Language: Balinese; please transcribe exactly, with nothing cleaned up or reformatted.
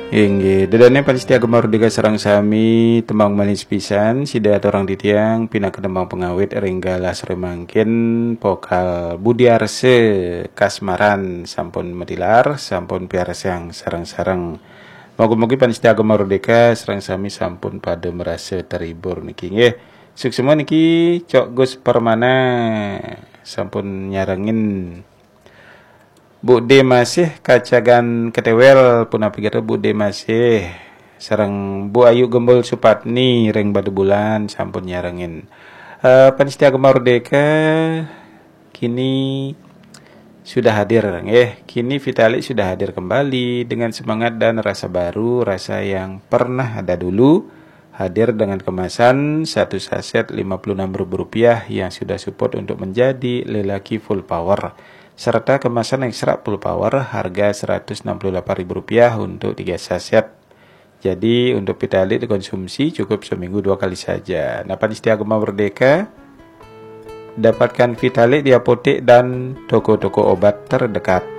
Inggih, ida dané pamiarsa Gema Merdeka sareng sami, tembang manis pisan sida aturang titiang, pinaka tembang pangawit ring galah sore mangkin, vokal Budi Arsa Kasmaran sampun matilar, sampun piarsang sareng-sareng. Mugi-mugi pamiarsa Gema Merdeka sareng sami sampun pada marasa terhibur niki nggih. Suksma niki Cok Gus Permana sampun nyarengin. Bu D masih kacagan ketewel, punapi kata Bu D masih sareng Bu Ayu Gembul Supatni ring Batubulan sampun nyarengin. Eh, pamiarsa Gema Merdeka kini sudah hadir, eh kini Vitalik sudah hadir kembali dengan semangat dan rasa baru, rasa yang pernah ada dulu, hadir dengan kemasan satu saset lima puluh enam ribu rupiah yang sudah support untuk menjadi lelaki full power, serta kemasan ekstra full power harga seratus enam puluh delapan ribu rupiah untuk tiga saset. Jadi untuk Vitalik dikonsumsi cukup seminggu dua kali saja. Nah, pamiarsa Gema Merdeka, dapatkan Vitalik di apotek dan toko-toko obat terdekat.